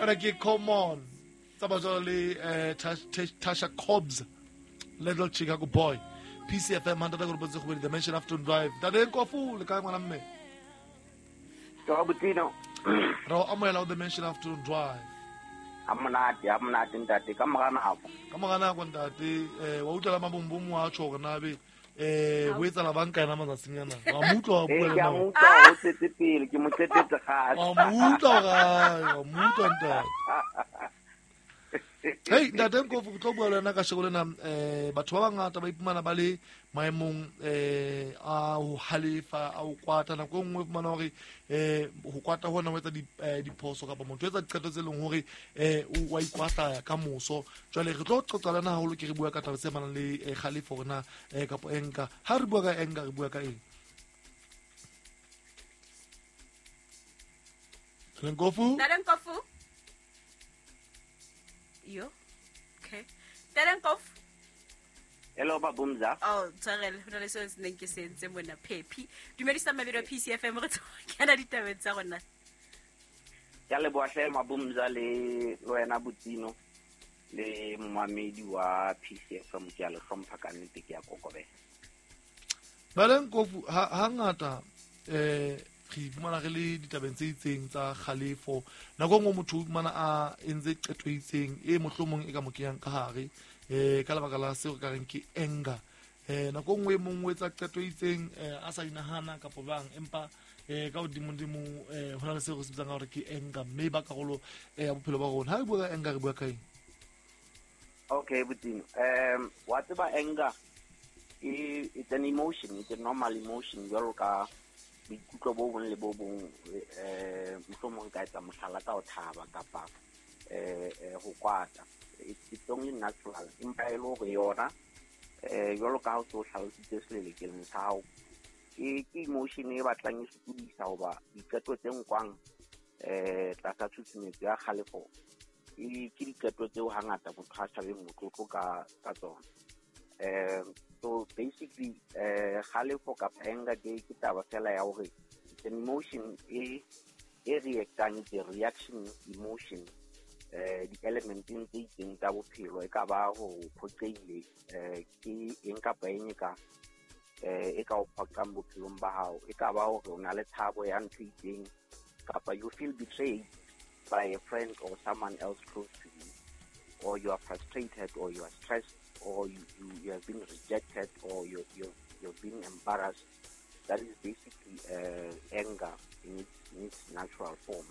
Ena ke Come On tsa batswalo le Tasha Cobbs, Little Chicago Boy. PCFM 100.7 Dimension Afternoon Drive. Ntate Nkofu, le kae ngwana mme? Ke wa Botsino. Re o amohela ho Dimension Afternoon Drive. Ha monate, ha monate ntate, ka mora nako. Ka mora nako ntate, wa utlwa la mabombomo a tjho hore na be ho etsahala bang ka yena matsatsing ana. Wa mo utlwa wa bua le Ke a nna. mo utlwa o tswetse pele, ke mo qetetse kgale. Wa mo utlwa hore wa mo utlwa ntate. Hey, ntate Nkofu, ke tlo bua le wena ka sheko lena. Batho ba bangata ba iphumana ba le maemong a ho halefa, a ho kwata. Nako e nngwe o fumana hore ho kwata hona ho etsa diphoso kapa motho o etsa diqeto tse leng hore o wa ikwahlaya ka moso. Jwale re tlo qoqa le wena haholo, ke re bua ka taba tse amanang le kgalefo hore na kapo anger. Ha re bua ka anger, re bua ka eng? Nkofu? Ntate Nkofu? Yo. Okay. Ntate Nkofu? Hello, Babumza. Oh, tshwarelo, ho na le seo se neng ke se entse mona, Phephi. Dumedisa mabedi wa PCFM, re tlo kena ditabeng tsa rona. Ke a leboha hle Mabumza le wena Botsino le momamedi wa PCFM, ke a le hlompha ka nnete, ke a kokobela. Ntate Nkofu, hangata re iphumana re le ditabeng tse itseng tsa kgalefo. Nako e nngwe motho o iphumana a entse qeto e itseng e mohlomong e ka mo kenyang ka hare, ka lebaka la seo re ka reng ke anger. Nako e nngwe e mong o etsa qeto e itseng a sa inahana kapa jwang, empa ka hodimodimo ho na le seo re se bitsang ka hore ke anger, mme ba karolo ya bophelo ba rona. Ha re bua ka anger, re bua ka eng? Okay, Botsino. Wa tseba anger it's an emotion, it's a normal emotion jwalo ka boikutlo bo bong le bo bong, mohlomong ka etsa mohlala ka ho thaba kapa ho kwata. It's only natural. Empa e le hore yona jwalo ka ha o se o hlalositse selelekeleng sa hao, ke emotion e batlang e sokodisa hoba diqeto tse nkwang tlasa tshusumetso ya kgalefo ke diqeto tseo hangata motho a sa beng motlotlo ka tsona. So basically, kgalefo kapa anger ke taba fela ya hore it's an emotion e reactang, it's a reaction emotion di-elementeng tse itseng tsa bophelo. E ka ba ho phoqeile, ke eng kapa eng e ka o phoqang bophelong ba hao. E ka ba hore o na le tshabo ya ntho e itseng, kapa you feel betrayed by a friend or someone else close to you, or you are frustrated, or you are stressed, or you have been rejected, or you've been embarrassed. That is basically anger in its natural form.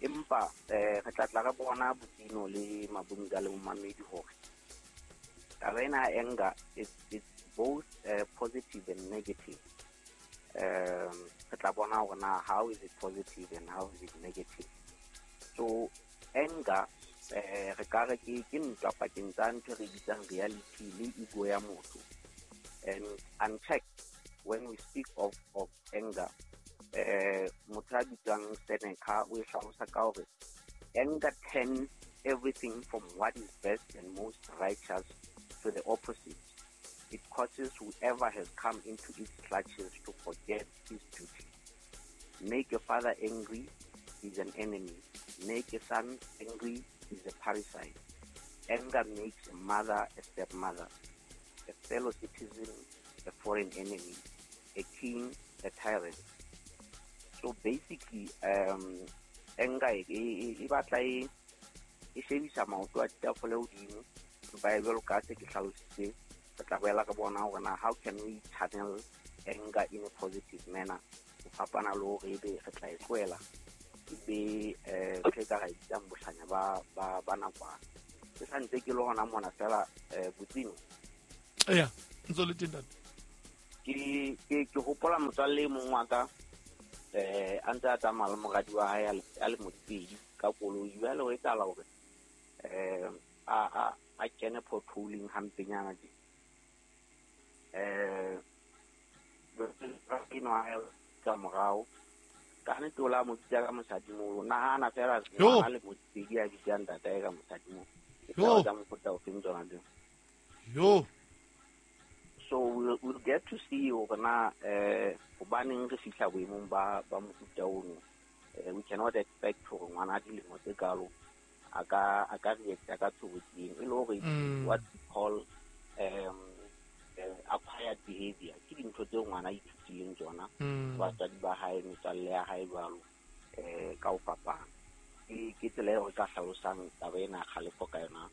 Empa re tla tla re bona Botsino le Mabunga le momamedi hore taba ena ya anger it's both positive and negative. Re tla bona hore na how is it positive and how is it negative. So anger re ka re ke ntwa pakeng tsa ntho e re bitsang reality le ego ya motho. And unchecked, when we speak of anger, motho a bitswang Seneca o e hlalosa ka hore anger turns everything from what is best and most righteous to the opposite. It causes whoever has come into its clutches to forget his duty. Make a father angry, he's an enemy. Make a son angry, he's a parricide. Anger makes a mother a stepmother, a fellow citizen a foreign enemy, a king a tyrant. So basically, anger e batla e shebisa maoto a ditafole hodimo. Empa e jwalo ka se ke hlalositse, re tla boela re bona hore na how can we channel anger in a positive manner, ho fapana le hore ebe re tla e tlohela ebe ntho e ka ra e bitsang bohlanya ba nakwana. Ke sa ntse ke le hona mona fela, Botsino. Eya, ntse o le teng ntate. Ke hopola motswalle e mong wa ka, a ntse a tsamaya le moradi wa hae a le modipedi ka koloi. Jwale ho etsahala hore a kene potholing hampenyana tje. Ka morao ka nnete o la mo bitsa ka mosadimoholo. Nahana fela ngwana le modipedi a bitsang ntatae ka mosadimoholo. Ke taba tsa mofuta ofeng tsona tseo? Yo. So we'll get to see hore na hobaneng re fihla boemong ba mofuta ono. We cannot expect hore ngwana a dilemo tse kalo a ka react ka tshobotsi eno, e le hore what we call acquired behavior. Ke dintho tseo ngwana a ithutileng tsona, batswadi ba hae, metswalle ya hae jwalo, ka ho fapana. Ke tsela eo re ka hlalosang taba ena ya kgalefo ka yona,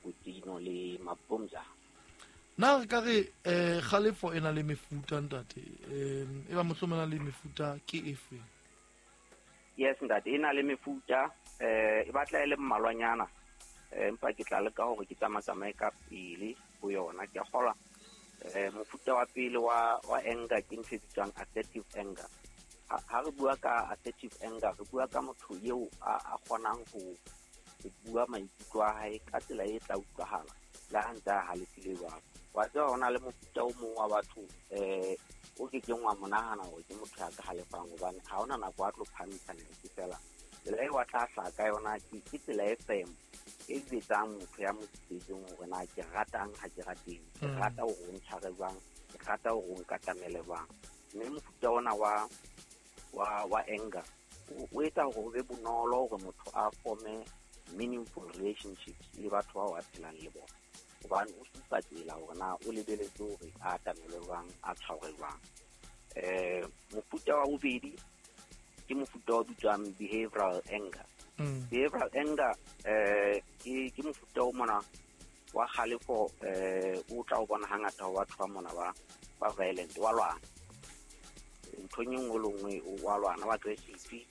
Botino le Mabumza. Na re ka re kgalefo e na le mefuta, ntate? E ba mohlomong e na le mefuta ke efe? Yes, ntate, e na le mefuta, e batla e le mmalwanyana, empa ke tla leka hore ke tsamatsamaye ka pele ho yona. Ke a kgolwa mofuta wa pele wa anger ke ntho e bitswang assertive anger. Ha re bua ka assertive anger, re bua ka motho eo a kgonang ho bua maikutlo a hae ka tsela e tla utlwahala le ha ntse a halefile jwalo. Wa tseba ho na le mofuta o mong wa batho o ke keng wa mo nahana hore ke motho ya ka halefang, hobane ha hona nako a tlo phamisa lentswe fela. Tsela eo a tla hlaha ka yona ke tsela e firm e jwetsang motho ya mo sitseng hore na ke ratang ha ke rateng, ke rata hore o ntshware jwang, ke rata hore o nkatamele jwang. Mme mofuta ona wa anger o etsa hore ho be bonolo hore motho a forme meaningful relationships le batho bao a phelang le bona, hobane o supa tsela hore na o lebeletse hore a atamelwe jwang, a tshwarwe jwang. Mofuta wa bobedi ke mofuta o bitswang behavioral anger. Behavioral anger ke mofuta o mona wa kgalefo, o tla o bona hangata ho batho ba mona ba violent, wa lwana nthong e nngwe le nngwe, wa lwana, wa aggressive,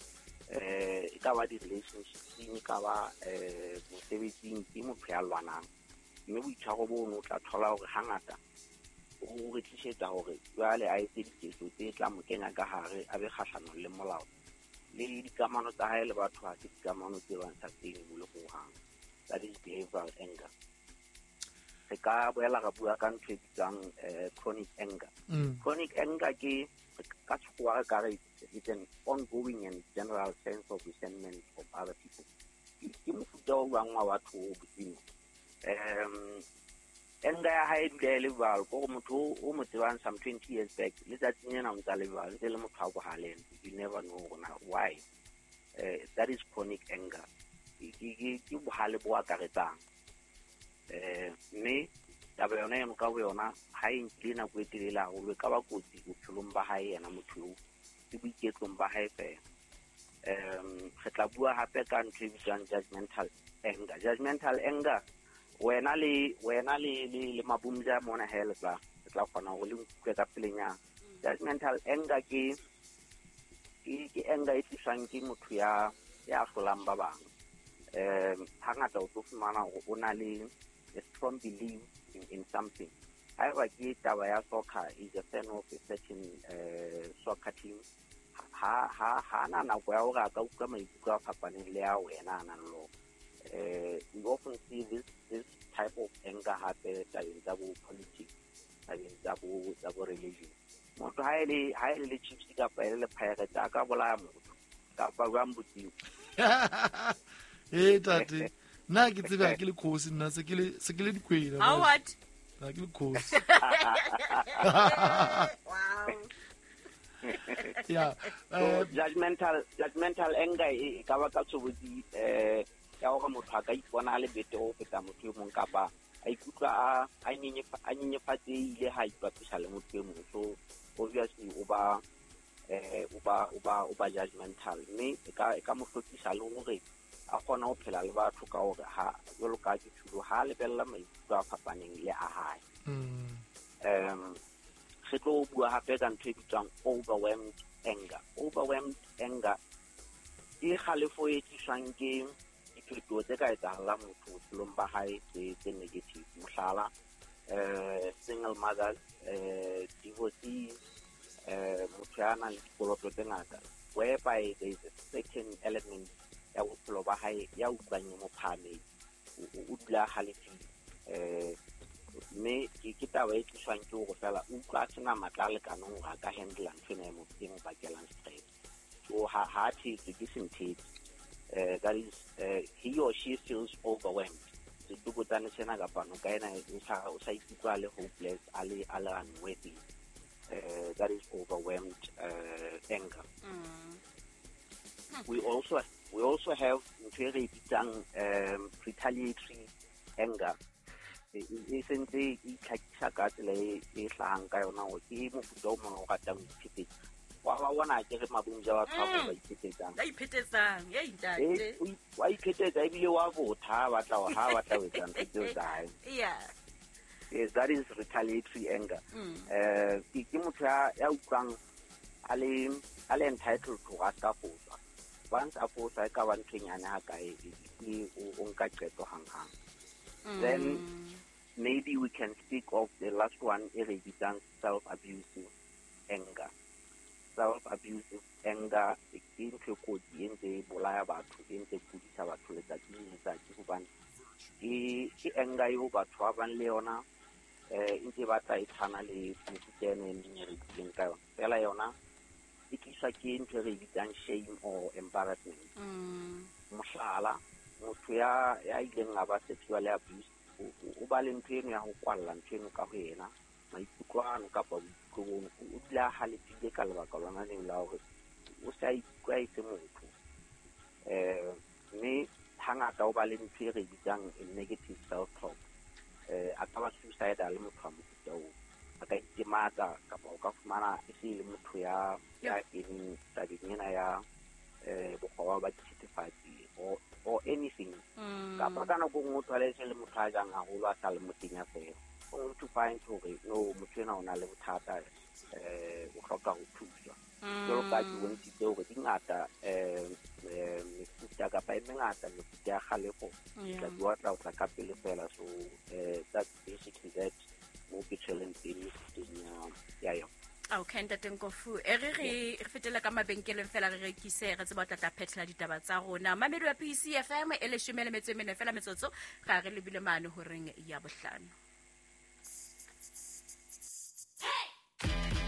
e ka ba di-relationships, e ka ba mosebetsing, ke motho ya lwanang. Mme boitshwaro bono o tla thola hore hangata o re tlisetsa hore jwale a etse diketso tse tla mo kenya ka hare, a be kgahlanong le molao. Le dikamano tsa hae le batho ha se dikamano tse bang sustainable hohang. That is behavioral anger. Re ka boela ra bua ka ntho e bitswang chronic anger. Chronic anger ke ka sekgowa re ka re it's an ongoing and general sense of resentment of other people. Ke mofuta o bang wa batho o bodimo. Anger ya hae e dula e le jwalo, ke hore motho o mo tsebang some 20 years back, letsatsing lena o ntsa le jwalo, ntse le motho a bohaleng. You never know hore na why. That is chronic anger. Ke bohale bo akaretsang. Mme taba yona eno ka boyona ha e nkile nako e telele haholo, e ka ba kotsi bophelong ba hae yena motho eo, le boiketlong ba hae fela. Re tla bua hape ka ntho e bitswang judgmental anger. Judgmental anger, wena le Mabumza mona he le tla kgona hore le nkutlwe ka pelenyana. Judgmental anger ke anger e tliswang ke motho ya hlolang ba bang. Hangata o tlo fumana hore o na le a strong belief in something. Haeba ke taba ya soccer, is a fan of a certain soccer team, ha na nako ya hore a ka utlwa maikutlo a fapaneng le ya wena a nang le ona. We often see this type of anger hape tabeng tsa bo politics, tabeng tsa bo religion. Motho ha e le Chiefs kapa e le Pirates a ka bolaya motho kapa jwang bosiu. Tate, nna ke tsebe ke le khosi, nna se ke le dikwena. How what? Nna ke le khosi. Wow. Yeah. So judgmental anger e ka ba ka tshobotsi ya hore motho a ka ipona a le betere ho feta motho e mong, kapa a ikutlwa a nyenyefatsehile ha ipapisa le motho e mong. So obviously o ba judgmental, mme e ka mo hlokisa le hore a kgone ho phela le batho ka hore ha jwalo ka ke tshilo ha lebella maikutlo a fapaneng le a hae. Re tlo bua hape ka ntho e bitswang overwhelmed anger. Overwhelmed anger ke kgalefo e tliswang ke diphetoho tse ka etsahalang motho bophelong ba hae tse negative. Mohlala, single mothers, divorcees, motho ya nang le dikoloto tse ngata, whereby there is a certain element ya bophelo ba hae ya utlwang e mo phahametse, o dula a halefile. Mme ke taba e tliswang ke hore fela o utlwa a sena matla a lekaneng hore a ka handle ntho ena e mo bakelang stress. So ha a thetse ke senthetse. That is, he or she feels overwhelmed. Setsokotsane sena kapa noka ena o sa ikutlwa a le hopeless, a le unworthy. That is overwhelmed anger. We also have ntho e re e bitsang retaliatory anger. E sentse e itlhakisa ka tsela e hlahang ka yona hore ke mofuta o mong o ratang ho iphetetsa. Wa ba bona ke re mabomja batho ba ba iphetetsang. Ba iphetetsang, ei ntate. Wa iphetetsa ebile wa botha, ha batla ho etsa ntho tseo tsa hae. Yes, that is retaliatory anger. Ke motho ya utlwang a le entitled to hore a ska foswa. Once a foswa, e ka ba ntho e nyane ha kae, e o nka qeto hang-hang. Then maybe we can speak of the last one e re bitsang self-abusive anger. Self-abusive anger ke ntho e kotsi, e ntse e bolaya batho, e ntse e kudisa batho letsatsi le letsatsi, hobane ke anger eo batho ba bang le yona e ntse e batla e tshwana le mefuta eno e meng e re buileng ka yona, fela yona e tliswa ke ntho e re e bitsang shame or embarrassment. Mohlala, motho ya ileng a ba sexually abused o ba le ntho eno ya ho kwalla ntho eno ka ho yena, maikutlo ano kapa boikutlo bono. O dula a halefile ka lebaka lona leo la hore o se a ikutlwa e se motho, mme hangata o ba le ntho e re bitsang a negative self talk. A ka ba suicidal motho wa mofuta oo, a ka itematsa, kapa o ka fumana e se e le motho ya keneng tabeng ena ya bokgoba ba dithethefatsi or anything, kapa ka nako e nngwe o thole e se le motho a jang haholo, a sa le motenya fela, only to find hore no, motho ena o na le bothata, o hloka ho thuswa. Jwalo ka ke bontshitse hore di ngata mefuta kapa e mengata mefuta ya kgalefo, tla bua tla o tla ka pele fela. So that's basically that mo ke tshweleng teng mefuteng ya yona. Okay, ntate Nkofu, e re fetele ka mabenkeleng fela, re rekise, re tseba o tla phethela ditaba tsa rona. Mamedi wa PCFM, e 14 fela metsotso ga re lebile mane horeng ya 5.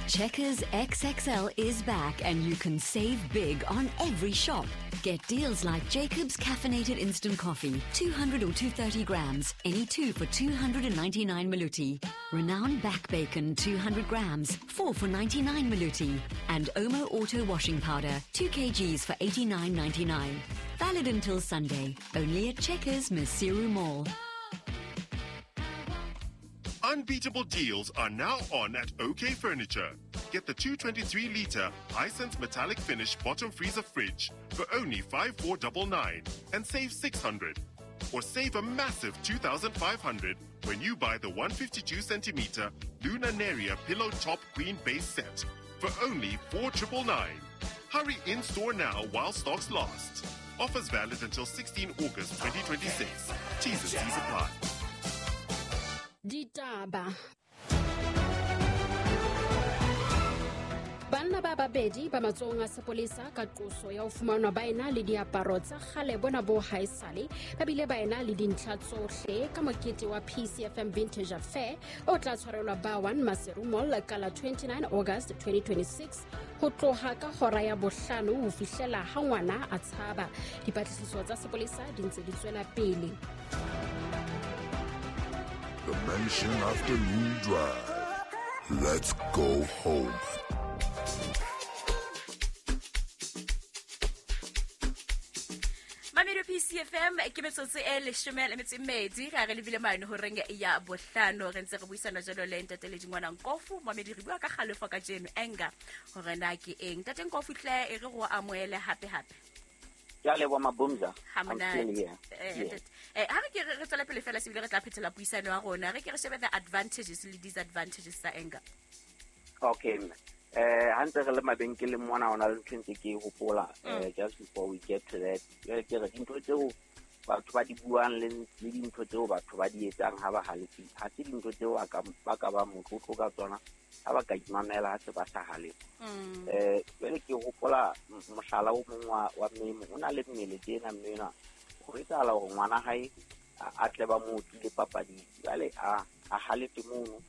Checkers XXL is back and you can save big on every shop. Get deals like Jacob's caffeinated instant coffee, 200 or 230 grams, any two for 299 maluti. Renowned back bacon, 200 grams, 4 for 99 maluti. And Omo Auto washing powder, 2 kgs for 89.99. Valid until Sunday, only at Checkers Maseru Mall. Unbeatable deals are now on at OK Furniture. Get the 223 litre Hisense metallic finish bottom freezer fridge for only 5499 and save 600. Or save a massive 2500 when you buy the 152 centimeter Luna Neria pillow top queen base set for only 4999. Hurry in store now while stocks last. Offers valid until 16 August 2026. T's and C's apply. Ditaba. Banna ba babedi ba matsohong a sepolesa ka qoso ya ho fumanwa ba ena le diaparo tsa kgale bona bo haesale, ba bile ba ena le dintlha tsohle ka mokete wa PCFM Vintage Affair o tla tshwarelwa ba 1 Maseru Mall ka la 29 August 2026 ho tloha ka hora ya 5 ho fihlela ha ngwana a tshaba. Dipatlisiso tsa sepolesa di ntse di tswela pele. Dimension Afternoon Drive. Let's go home. Mamedi PCFM, ke metsotso e 12 ga re lebile mane horeng ya 5. Re ntse re buisana jalo le ntate le dingwana Nkofu. Mamedi, re bua ka kgalefo ka jeno, anger, hore na ke eng. Ntate Nkofu hle, e re go amoele hape hape. Ke a leboha, Mabumza. Ha I'm still monate. here. Yeah. Ntate. Ha re ke re tswela pele fela, sebile re tla phethela puisano ya rona, re ke re shebe the advantages le disadvantages tsa anger. Okay, mme. Ha ntse re le mabenkeleng mona, hona le ntho e ntse ke e hopola, just before we get to that. Jwale ke re dintho tseo batho ba di buang le dintho tseo batho ba di etsang ha ba halefile, ha se dintho tseo ba ka ba motlotlo ka tsona ha ba ka imamela ha se ba sa halefa. Jwale ke hopola mohlala o mong wa mme mong, o na le mmele tjena, mme enwa ho etsahala hore ngwana hae a tle ba mo otlile papading. Jwale a halefe mono,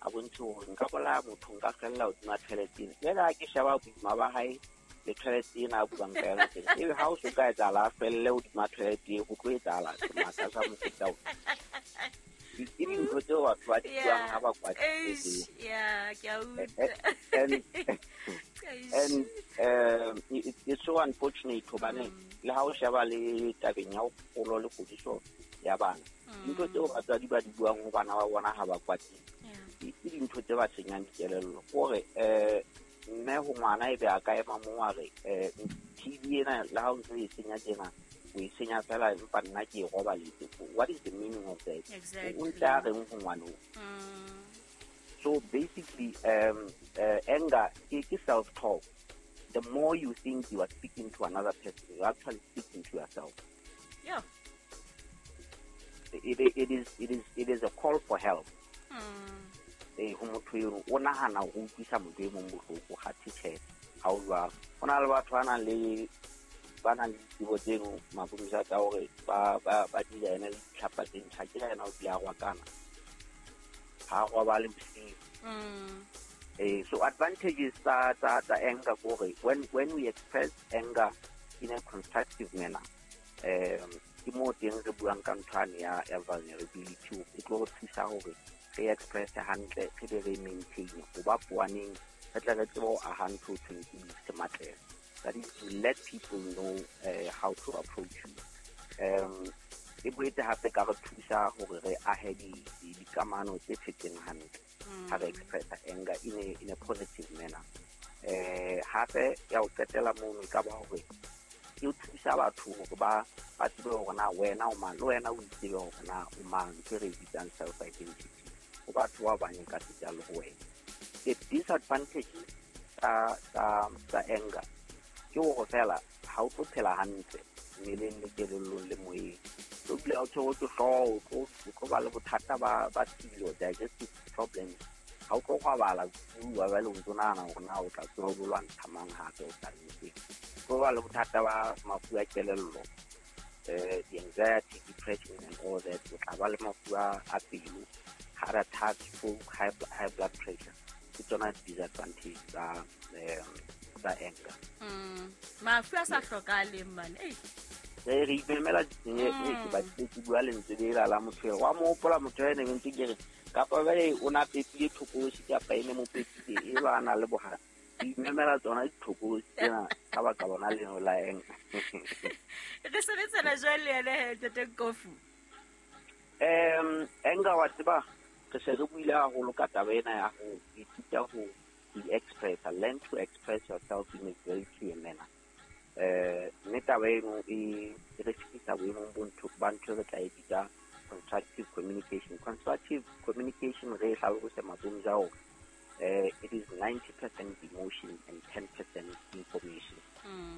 a bontshe hore nka bolaya motho, nka kgella hodima toilet ena. Jwale ha ke sheba boima ba hae le toilet ena a buang ka yona tjena, ebe ha o so ka etsahala a felle hodima toilet e, ho tlo etsahala semaka sa mofuta ona. Ke dintho tseo batho ba di buang ha ba kwatile Eish, tseo. ya ke a utlwa. And And it's so unfortunate hobane le ha o sheba le tabeng ya ho kgolo le kgodiso ya bana, dintho tseo batswadi ba di buang ho bana ba bona ha ba kwatile, ke dintho tse ba senyang dikelello. Kore mme ho ngwana ebe a ka ema moo a re TV ena le ha o ntse o e senya tjena, o e senya fela empa nna ke e robaletse. What is the meaning of that? Exactly. O ntse a reng ho ngwana oo? So basically, anger is self-talk. The more you think you are speaking to another person, you're actually speaking to yourself. Yeah. It is a call for help. Ho motho eno o nahana ho utlwisa motho e mong bohloko, ha tjhe, ha o jwalo. Ho na le batho ba nang le ditsebo tseno, Mapumisa, tsa hore ba design-e le ditlhapa tse ntjha. Ke yena o tlile a rwakana, ha robale bosiu. So advantages tsa anger ke hore when we express anger in a constructive manner, ke moo teng re buang ka ntho ane ya vulnerability. E tlo re thusa hore re express hantle, re be re maintain ho ba poaneng, re tle re tsebe ho aha ntho ho thweng ke sematlelo. That is to let people know how to approach you. E boetse hape ka re thusa hore re ahe dikamano tse phetseng hantle ha re express anger in a positive manner. Hape ya ho qetela mono e ka ba hore e thusa batho hore ba tsebe hore na wena o mang, le wena o itsebe hore na o mang, ntho e re e bitsang self identity ho batho ba bang ka seta le ho wena. The disadvantages tsa anger ke hore fela ha o tlo phela hantle mmeleng le kelellong le moyeng. O dula o tshwerwe ke hlooho, o tlo ba le bothata ba tshilo, digestive problems. Ha o tlo robala bosiu, wa ba le o ntso nahana hore na o tla tsoha o lo lwantsha mang hape o sa nnete. O tlo ba le bothata ba mafu a kelello, the anxiety, depression and all that. O tla ba le mafu a pelo, heart attack, stroke, high blood pressure. Ke tsona disadvantage tsa anger. Mafu a sa hlokahaleng man. Ei. Re imemela ke batlile ke bua lentswe lela la motho eo. Wa mo hopola motho ene ntse ke re kapa jwale o na pepile thokolosi kapa e ne mo pepile e ba na le bohale. Re imemela tsona dithokolosi tsena ka baka lona leno la anger. Re sebetsana jwang le yena he, Ntate Nkofu? Anger wa tseba re se re buile haholo ka taba ena ya ho ithuta ho express, learn to express yourself in a very clear manner. Mme taba eno e re fetisa boemong bo ntho ba ntho e re tla e bitsa constructive communication. Constructive communication re e hlalose Mapumisa hore it is 90% emotion and 10% information.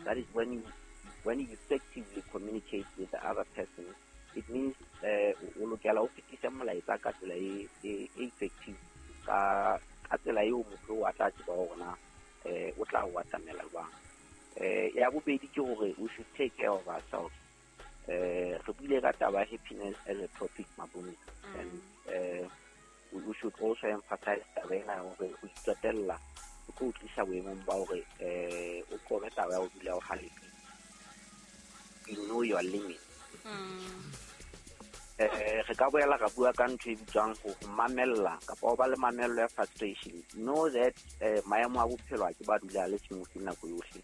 That is when you effectively communicate with the other person, it means o lokela o fetise molaetsa ka tsela e effective, ka tsela eo motho a tla tseba hore na o tla o atamela jwang. Ya bobedi ke hore we should take care of ourselves. Re buile ka taba ya happiness as a topic, Mapumisa, and we should also emphasize taba ena ya hore ho itsotella ho tlo o tlisa boemong ba hore o qobe taba ya ho dula o halefile. You know your limit. Re ka boela ra bua ka ntho e bitswang ho mamella kapa ho ba le mamello ya frustration. Know that maemo a bophelo a ke ba dula a le smooth nako yohle,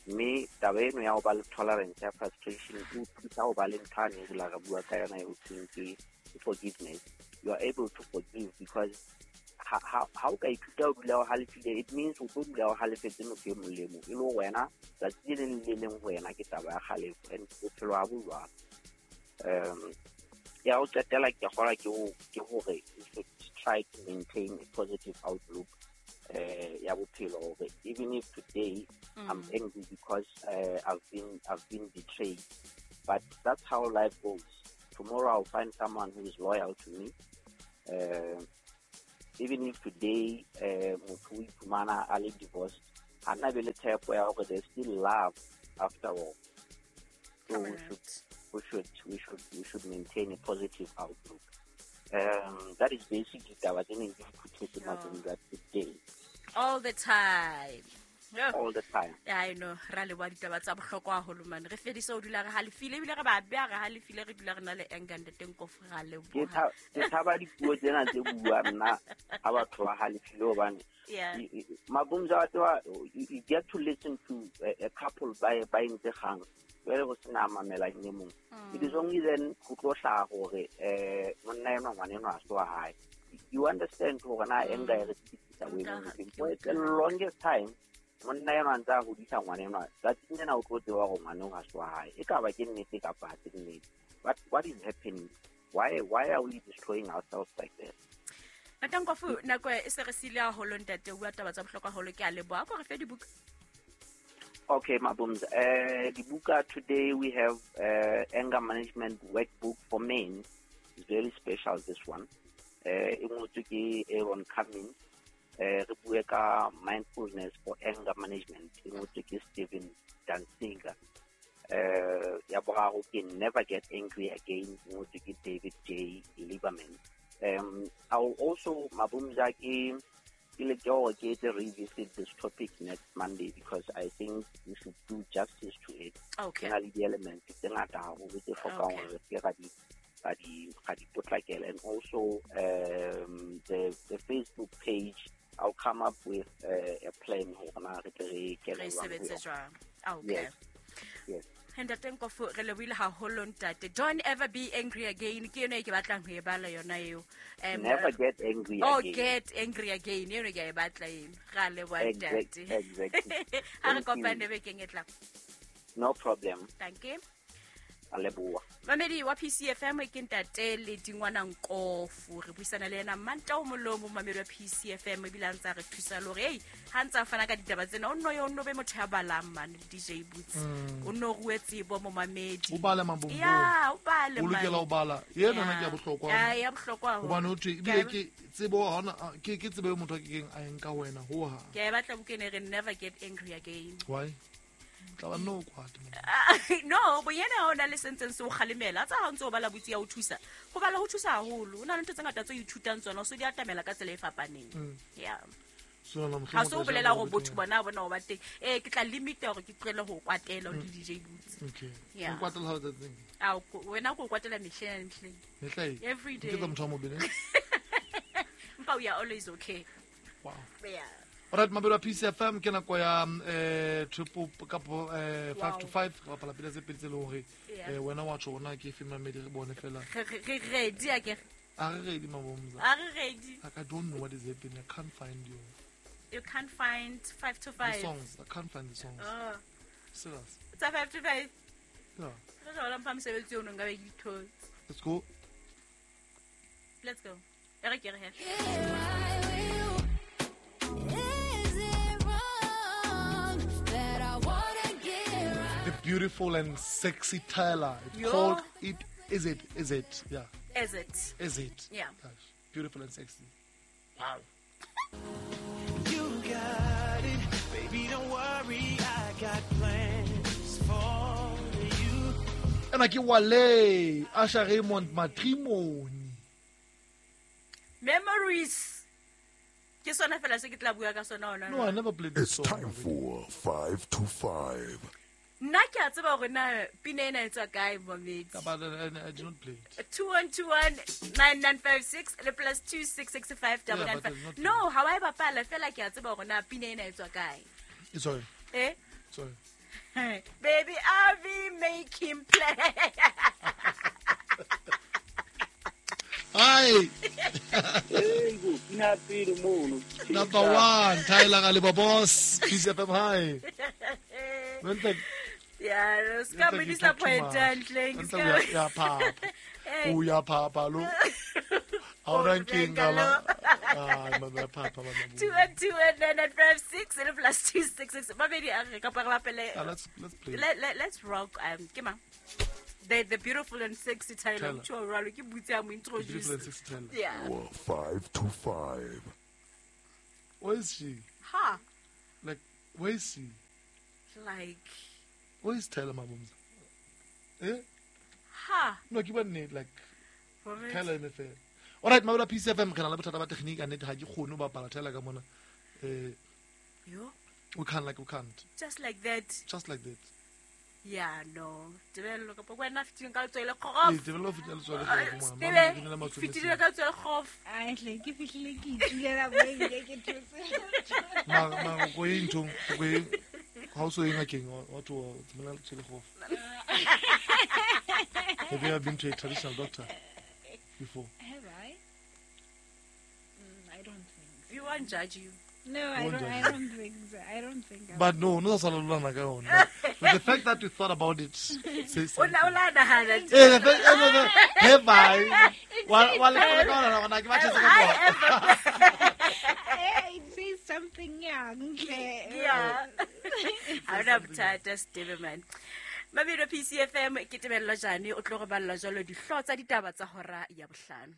mme taba eno ya ho ba le tolerance ya frustration e o thusa ho ba le ntho ane e re bua ka yona e ho thweng ke forgiveness. You are able to forgive because ha o ka ithuta ho dula o halefile, it means o tlo dula o halefetse motho e mong le mong, e le hore wena tsatsi le leng le leng ho wena ke taba ya kgalefo, and bophelo ha bo jwalo. Ya ho qetela ke kgolwa ke hore you should try to maintain a positive outlook ya bophelo, hore even if today I'm angry because I've been betrayed, but that's how life goes. Tomorrow I'll find someone who is loyal to me. Even if today motho o iphumana a le divorced, ha nna be le tshepo ya hore there's still love after all. So we should maintain a positive outlook. That is basically taba tse neng ke di phuthetse matsong today. All the time. All the time. I know, ra leboha ditaba tsa bohlokwa haholo mane. Re fedise ho dula re halefile, ebile re ba beha re halefile, re dula re na le anger, ntate Nkofu, ra leboha. Ke thaba dipuo tsena tse bua nna ha batho ba halefile hobane Mabumza wa tseba, you get to listen to a couple ba entse kgang, jwale ho sena a mamelang e mong. It is only then ho tlo hlaha hore monna enwa ngwana enwa ha se wa hae. You understand hore na anger e re tsitsisa boemong bofeng. For the longest time monna enwa ntse a hodisa ngwana enwa, tsatsing lena o tlo tseba hore ngwana eo ha se wa hae. E ka ba ke nnete kapa ha se nnete. But what is happening? Why are we destroying ourselves like that? Ntate Nkofu, nako e se re siile haholo ntate, o bua taba tsa bohlokwa haholo, ke a leboha. Ko re fe dibuka. Okay, Mabumza. Dibuka, today we have Anger Management Workbook for Men. It's very special, this one. E ngotswe ke Aaron Cummins. Re bue ka Mindfulness for Anger Management. E ngotswe ke Stephen Dansinger. Ya boraro ke Never Get Angry Again. E ngotswe ke David J. Lieberman. I will also, Mabumza, ke leke hore ke etse revisit this topic next Monday because I think we should do justice to it. Okay. Ke na le di-elements tse ngata haholo tse hlokang hore re se ke ra di potlakela. And also the Facebook page, I'll come up with a plan hore na re tle re kene Re jwang ho sebetse yona. jwang. Okay. Yes. Yes. Ntate Nkofu, re lebohile haholo ntate. Don't ever be angry again. Ke yona e ke batlang ho e bala yona eo. Never get angry Oh, again. get angry again. Yona ke a e batla eno. Ra leboha ntate. Exactly. Ha re Thank you. kopane bekeng e tlang. No problem. Thank you. A leboha. Mamedi wa PCFM ke ntate le Dingwana Nkofu. Re buisana le yena Manta o molomo, mamedi wa PCFM, ebile a ntse a re thusa le hore, hey, ha ntse a fana ka ditaba tsena, o nno yo, o nno be motho ya balang mane, DJ Boots. O nno rue tsebo mo mamedi. O bale mabombo. Ya, o bale O lokela mane. ho bala. Ena nna ke ya bohlokwa. Ya, ya bohlokwa haholo. Hobane ho thwe, Ke ebile a e ke tsebo ha hona, ke tsebo eo motho a kekeng a e nka wena ho hang. Ke a e batla buka ena e reng Never Get Angry Again. Why? Tla ba nno o kwate mona. No, bonyane ha o na le se ntseng se o kgalemela. Tsa ha o ntse o bala botsi ya o thusa. Ho bala ho thusa haholo. Ho na le ntho tse ngata tse o ithutang tsona, o so di atamela ka tsela e fapaneng. Yeah. So, na mohlomong Ha se o o tla bolela jala hore botho botho bona bona o ba teng. Ke tla limita hore ke tlohele ho kwatela o le DJ Boots. Okay. Yeah. O kwatela ha o tsatsing? Ao, wena ko kwatela mehleng le mehleng. Mehla e? Every Ke tsa day. motho wa mobe, ne? Empa we are always okay. Wow. Yeah. Alright, mabelo a PCFM ke nako ya triple kapo 5 to Wow. 5, re bapala pina tse pedi tse leng hore, Yeah. wena wa tjho hore na ke efe mamedi re bone fela. Re ready akere? A re ready, Mabomza. A re ready. Like, I don't know what is happening. I can't find you. You can't find 5 to The 5. songs. I can't find the songs. Oh. Serious. Tsa 5 to 5. Yeah. Re tla mpha mosebetsi ono nka be ke dithotse. Let's go. Let's go. E re ke re he. The beautiful and sexy Tyla. It's Yo. called It Is It Is It. Yeah. Is It. Is It. Yeah. Gosh, beautiful and sexy. Wow. You got it. Baby, don't worry. I got plans for you. Ena ke Wale, Asha Raymond Matrimony. Memories. Ke sona fela se ke tla bua ka sona hona No, I jwale. never played this It's song. time for 5 to 5. Nna ke a tseba hore na pina ena e tswa kae, momedi. But I did not play it. 2121-9956 le plus two six six five double Yeah, nine but five. it's not No, ha wa e bapala fela ke a tseba hore na pina ena e tswa kae. It's sorry. Eh? Sorry. Baby, I'll be making play. Hi. Hey, go, pina pele mono. Number 1, Tyler Galiba boss. PCFM, hi. Don't like, Yeah, no, ska don't mo like you talk too disappoint much. ntleng. Don't like ya papa. Hey. O ya papa lo. Ha o na nkeng la. Ah, mama papa mama. 2121-9956 le plus 266. Mamedi a re kapa re bapele. Ah, let's play. Let's rock. Ke mang? The beautiful and sexy Tyler. Tyler. Motho wa jwalo, ke butse a mo The beautiful and introduce. sexy Tyler. Yeah. 5 to 5. Where is she? Ha. Like, where is she? Like, Where is Tyler Mabumza? Eh? ha. No, ke ba nnete, like Momedi. Tyler eme fela. Alright, mabela PCFM re na le bothata ba technique a nnete ha ke kgone ho bapala Tyler ka mona. Yo. We can't, like, we can't. Just like that. Just like that. Yeah, no. Tebello kapa wena fitileng ka letswele Ee, kgof. Tebello o fetile letswele kgof, ngwana. Stebe, Mama, ke na le matswele fitile ka letswele kgof. Ahle, ke fihlile ke itulela mo ebile ke thotse. Mara ko ye nthong, ko ye ha o so ye ngakeng, wa tloha o tsamaya letswele kgof. Have you ever been to a traditional doctor before? Have I? I don't think so. We won't judge you. No, I Won't don't. I judge you. don't think so. I don't think. I But no sa lolana ka yona. But the fact that you thought about it says O na o something. la nahana. Eh, the fact, eh, no, no, have I? Wa le ka ona ona ke ba tshetse ka I tsona. ever Eh, it says something young. Yeah. Ha ona bothata, Steve man. Mabelo PCFM ke Tebello Jane o tlo re balla jwalo dihlooho tsa ditaba tsa hora ya bohlano.